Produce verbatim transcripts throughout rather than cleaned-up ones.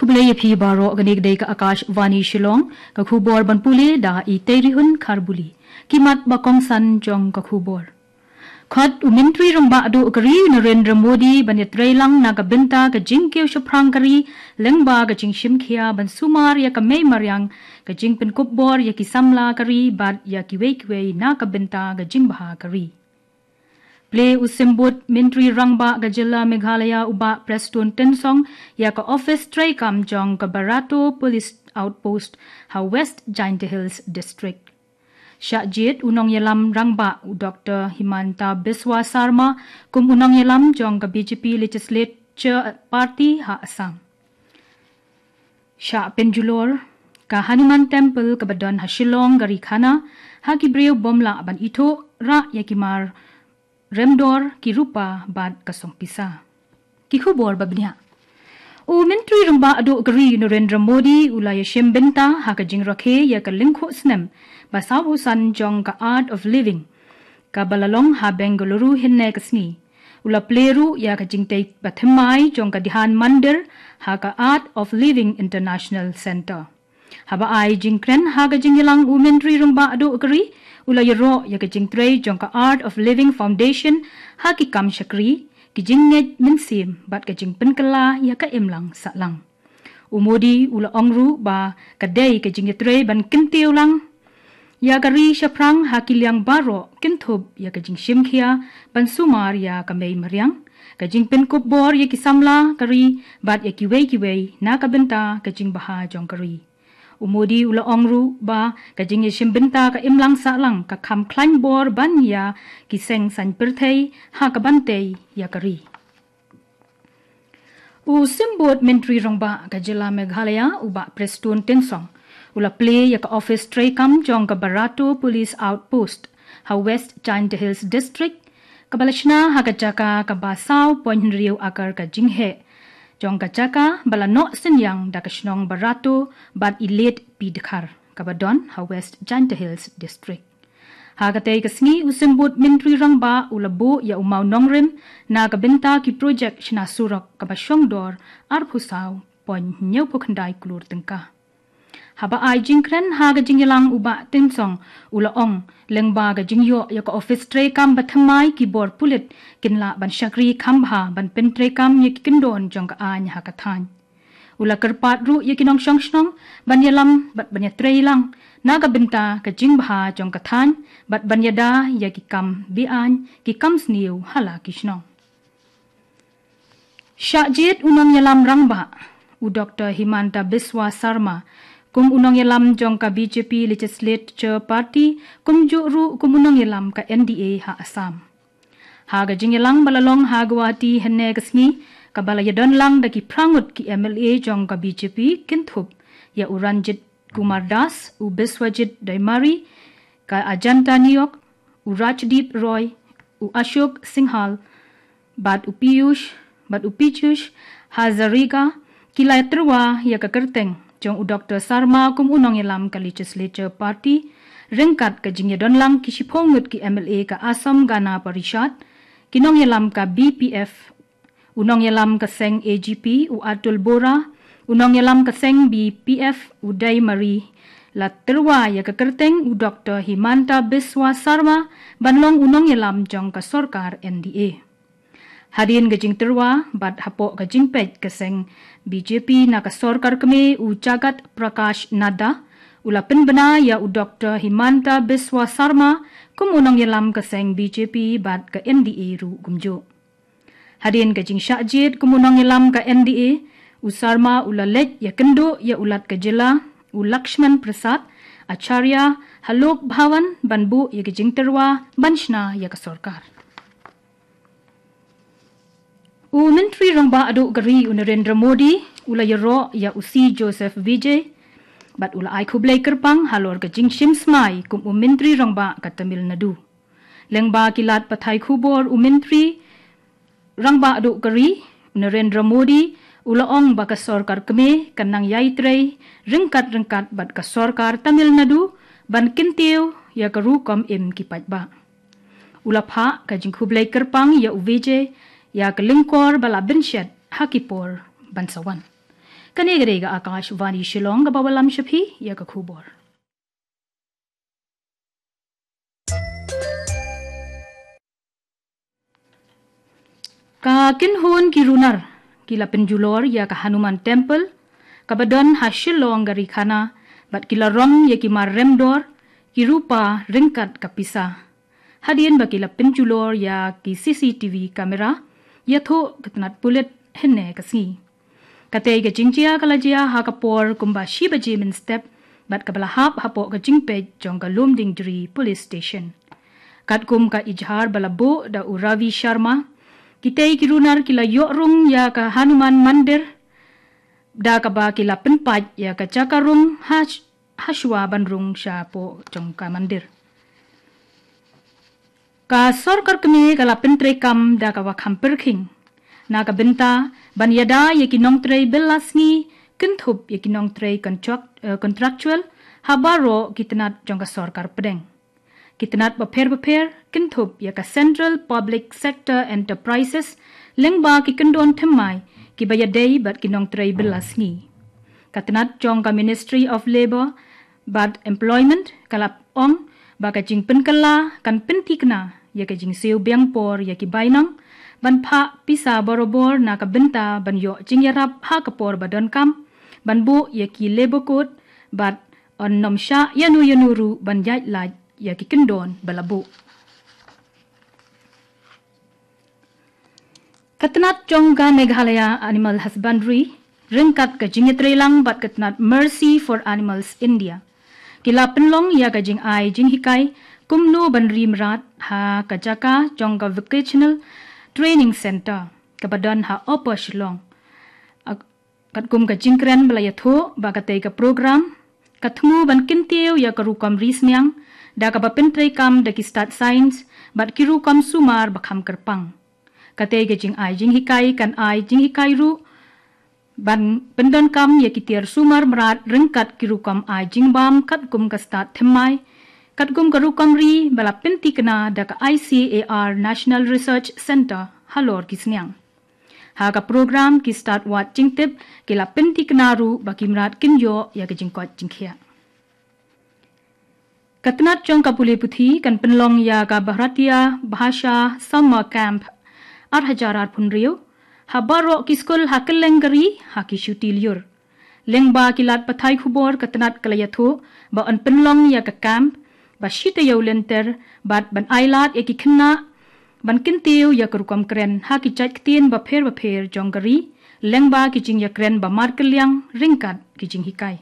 Khublei ïa phi baroh, kane ka dei ka Akashvani Shillong, ka khubor ban pule da i Teirihun Kharbuli. Ki mat ba kongsan jong ka khubor. Khot u Myntri Rangbah Duh ka ri u Narendra Modi ban ïatreilang na ka bynta ka jingkiew shaphrang ka ri, lyngba ka jingshim khia ban sumar ïa ka mei mariang, ka jingpynkup bor ïa ki samla ka ri bad ïa kiwei kiwei na ka bynta ka jingbha ka ri. Plie u Symbud Myntri Rangbah ka jylla Meghalaya u Bah Prestone Tynsong ïa ka ophis treikam jong ka Barato Police Outpost ha West Jaintia Hills District. Shah jied u nongïalam rangbah u Doktor Himanta Biswa Sarma kum u nongïalam jong ka B J P Legislature Party ha Assam. Shah pynjulor ka Hanuman Temple kaba don ha Shillong ka ri khana, ha ki briew bym lah ban ithuh, rah ïa ki mar remdor, ki rupa bad ka song pisa. Ki khubor ba bniah. U Myntri Rangbah Duh ka ri u Narendra Modi u la ïashim bynta ha ka jingrakhe ïa ka lyngkhuh snem ba sawphew san jong ka Art of Living, kaba la long ha Bengaluru hynne ka sngi. U la plie ruh ïa ka jingtei bathymmai jong ka Dhyan Mandir ha ka Art of Living International Centre. Haba ai jingkren ha ka jingïalang u Myntri Rangbah Duh ka ri u la ïaroh ïa ka jingtrei jong ka Art of Living Foundation ha ki kam shakri, ki jingngeit mynsiem bad ka jingpynkylla ïa ka imlang sahlang. U Modi u la ong ruh ba ka dei ka jingïatrei ban kyntiew lang ïa ka ri shaphrang ha ki liang baroh, kynthup ïa ka jingshim khia ban sumar ïa ka mei mariang, ka jingpynkup bor ïa ki samla ka ri bad ïa kiwei kiwei na ka bynta ka jingbha jong ka ri. U Modi u la ong ruh ba ka jingïashim bynta ka imlang sahlang ka kham khlaiñ bor ban ïa ki seng saiñ pyrthei ha kaban tei ïa ka ri. U Symbud Myntri Rangbah ka jylla Meghalaya u Bah Prestone Tynsong u la plie ïa ka ophis treikam jong ka Barato Police Outpost ha West Jaintia Hills District, kaba la shna ha ka jaka kaba saw point hynriew akar ka jingheh jong ka jaka ba la noh synñiang da ka shnong Barato bad i Late P Dkhar, kaba don ha West Jaintia Hills District. Ha katei ka sngi u Symbud Myntri Rangbah u la buh ïa u mawnongrim na ka bynta ki projek shna surok kaba shong dor arphew saw point hynñiewphew khyndai klur tyngka. Haba ai jingkren ha ka jingïalang u Bah Tynsong u la ong, lyngba ka jingïoh ïa ka ophis treikam bathymmai, ki bor pulit kin lah ban shakri kham bha ban pyntreikam ïa ki kyndon jong ka aiñ ha ka thaiñ. U la kyrpad ruh ïa ki nongshong shnong ban ïalam bad ban ïatrei lang na ka bynta ka jingbha jong ka thaiñ bad ban ïada ïa ki kam be-aiñ, ki kam sniew ha la ki shnong. Shah jied u nongïalam rangbah u Doktor Himanta Biswa Sarma kum u nongïalam jong ka B J P Legislature Party, kumjuh ruh kum u nongïalam ka N D A ha Assam. Ha ka jingïalang ba la long ha Guwahati hynne ka sngi, kaba la ïadon lang da ki phra ngut ki M L A jong ka B J P, kynthup ïa u Ranjit Kumar Das, u Biswajit Daimarry ka Ajanta Nayok, u Rajdeep Roy, u Ashok Singhal, bad u Piyush, bad u Piyush Hazarika, ki la tyrwa ïa ka kyrteng jong u Doktor Sarma kum u nongïalam ka Legislature Party, ryngkat ka jingïadon lang ki shiphew ngut ki M L A ka Assam Gana Parishad, ki nongïalam ka B P F, u nongïalam ka seng A G P u Atul Bora, u nongïalam ka seng B P F u Daimarry, la tyrwa ïa ka kyrteng u Doktor Himanta Biswa Sarma ban long u nongïalam jong ka sorkar N D A. Hadien ka jingtyrwa bad hapoh ka jingpeit ka seng B J P na ka sorkar kmie u Jagat Prakash Nadda u la pynbna ïa u Doktor Himanta Biswa Sarma kum u nongïalam ka seng B J P bad ka N D A ruh kumjuh. Hadien ka jingshah jied kum u nongïalam ka N D A, u Sarma u la leit ïakynduh ïa u Lat ka jylla u Lakshman Prasad Acharya ha Lok Bhavan ban buh ïa ka jingtyrwa ban shna ïa ka sorkar. U Myntri Rangbah Duh ka ri u Narendra Modi u la ïaroh ïa u C Joseph Vijay bad u la ai khublei kyrpang halor ka jingshim smai kum u Myntri Rangbah ka Tamil Nadu. Lyngba ki lad pathai khubor u Myntri Rangbah Duh ka ri u Narendra Modi u la ong ba ka sorkar kmie kan nang ïai trei ryngkat ryngkat bad ka sorkar Tamil Nadu ban kyntiew ïa ka rukom im ki paidbah. U la phah ka jingkhublei kyrpang ïa u Vijay ïa ka lyngkor ba la bynshet ha ki por ban sa wan. Kane ka dei ka Akashvani Shillong kaba wallam sha phi ïa ka khubor. Ka kynhun ki runar ki la pynjulor ïa ka Hanuman Temple kaba don ha Shillong ka Ri Khana bad ki la rong ïa ki mar remdor, ki rupa ryngkat ka pisa. Hadien ba ki la pynjulor ïa ki C C T V camera, ïathuh ka tnat pulit hynne ka sngi. Katei ka jingjia ka la jia ha ka por kumba shi baje mynstep bad kaba la hap hapoh ka jingpeit jong ka Lumdiengjri Police Station. Katkum ka ijhar ba la buh da u Ravi Sharma, kitei ki runar ki la ïoh rung ïa ka Hanuman Mandir da kaba ki la pynpait ïa ka jaka rung ha, hashwa ban rung shapoh jong ka mandir. Ka sorkar kmie ka la pyntreikam da kaba kham pyrkhing na ka bynta ban ïada ïa ki nongtrei bill lasngi, kynthup ïa ki nongtrei contract-, eh, contractual ha baroh ki tnat jong ka sorkar pdeng. Ki tnat bapher bapher kynthup ïa ka Central Public Sector Enterprises lyngba ki kyndon thymmai kiba ïadei bad ki nongtrei bill lasngi. Ka tnat jong ka Ministry of Labour bad Employment ka la ong ba ka jingpynkylla kan pynthikna ïa ka jingsiew biang por ïa ki bainong ban phah pisa barabor na ka bynta ban ïoh jingïarap ha ka por ba donkam, ban buh ïa ki labour code bad yn nym shah ïano ïano ruh ban ïaid lait ïa ki kyndon ba la buh. Ka tnat jong ka Meghalaya Animal Husbandry ryngkat ka jingïatreilang bad ka tnat Mercy for Animals India ki la pynlong ïa ka jingai jinghikai kumno ban ri mrad ha ka jaka jong ka Vocational Training Centre kaba don ha Upper Shillong. Ak-, katkum ka jingkren ba la ïathuh ba katei ka program ka thmu ban kyntiew ïa ka rukom ri sniang da kaba pyntreikam da ki stad science bad ki rukom sumar ba kham kyrpang. Katei ka jingai jinghikai kan ai jinghikai ruh ban pyndonkam ïa ki tiar sumar mrad ryngkat ki rukom ai jingbam katkum ka stad thymmai, katkum ka rukom ri ba la pynthikna da ka I C A R National Research Centre halor ki sniang. Ha ka program ki stad wad jingtip ki la pynthikna ruh ba ki mrad kin ïoh ïa ka jingkoit jingkhiah. Ka tnat jong ka pule puthi kan pynlong ïa ka Bharatiya Bhasha Summer Camp ar hajar arphew hynriew ha baroh ki skul ha kylleng ka ri ha ki shuti lyiur. Lyngba ki lad pathai khubor ka tnat ka la ïathuh ba yn pynlong ïa ka camp ba shi taïew lynter bad ban ai lad ïa ki khynnah ban kyntiew ïa ka rukom kren ha ki jait ktien bapher bapher jong ka ri lyngba ki jingïakren ba markylliang ryngkat ki jinghikai.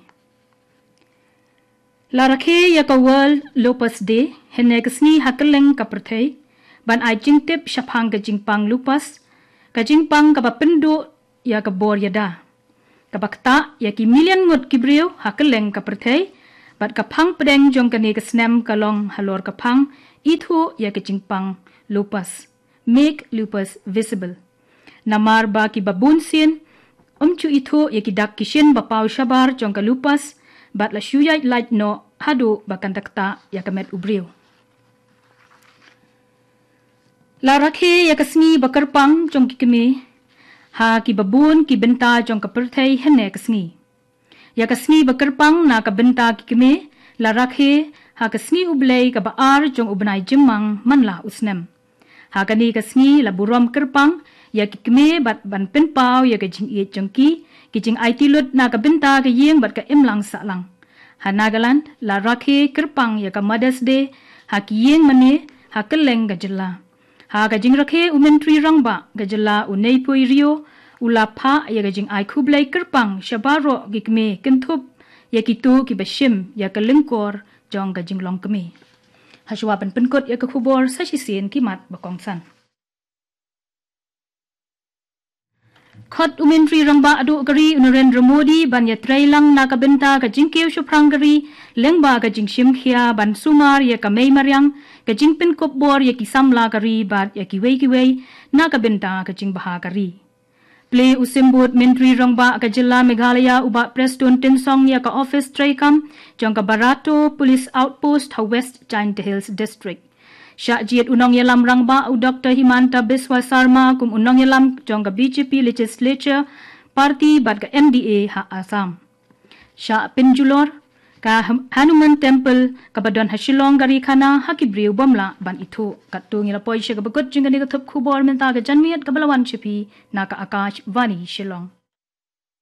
La rakhe ïa ka World Lupus Day hynne ka sngi ha kylleng ka pyrthei ban ai jingtip shaphang ka jingpang lupus, ka jingpang kaba pynduh ïa ka bor ïada kaba ktah ïa ki million ngut ki briew ha kylleng ka pyrthei bad ka phang pdeng jong kane ka snem ka long halor ka phang ithuh ïa ka jingpang lupus, make lupus visible. Namar ba kiba bun sien ym ju ithuh ïa ki dak ki shin ba paw shabar jong ka lupus bad la shu ïaid lait noh haduh ba kan da ktah ïa ka met u briew. La rakhe ïa ka sngi ba kyrpang jong ki kmie ha kiba bun ki bynta jong ka pyrthei hynne ka sngi. Ïa ka sngi ba kyrpang na ka bynta ki kmie la rakhe ha ka sngi U Blei kaba ar jong u bnai Jymmang man la u snem. Ha kane ka sngi la burom kyrpang ïa ki kmie bad ban pynpaw ïa ka jingïeit jong ki, ki jingaiti lut na ka bynta ka ïing bad ka imlang sahlang. Ha Nagaland la rakhe kyrpang ïa ka Mother's Day ha ki ïing mane ha kylleng ka jylla. Ha ka jingrakhe u Myntri Rangbah ka jylla u Neiphiu Rio u la phah ïa ka jingai khublei kyrpang sha baroh ki kmie kynthup ïa kito kiba shim ïa ka lyngkor jong ka jinglong kmie. Hashwa ban pynkut ïa ka khubor sa shisien ki mat ba kongsan. Khot u Myntri Rangbah duh ka ri u Narendra Modi ban ïatreilang na ka bynta ka jingkiew shaphrang ka ri lyngba ka jingshim khia ban sumar ïa ka mei mariang, ka jingpynkup bor ïa ki samla ka ri bad ïa kiwei kiwei na ka bynta ka jingbha ka ri. Plie u symbud Myntri Rangbah ka jylla Meghalaya u Bah Prestone Tynsong ïa ka ophis treikam jong ka Barato Police Outpost ha West Jaintia Hills District. Shah jied u nongïalam rangbah u Doktor Himanta Biswa Sarma kum u nongïalam jong ka B J P Legislature party bad ka N D A ha Assam. Sha Pinjulor, ka Ham- Hanuman Temple kaba don ha Shillong ka ri khana ha ki briew bym lah ban ithuh. Katto ngi la poi sha kaba kut jong kane ka thup khubor mynta ka janmiet kaba la wan sha phi na ka Akashvani Shillong.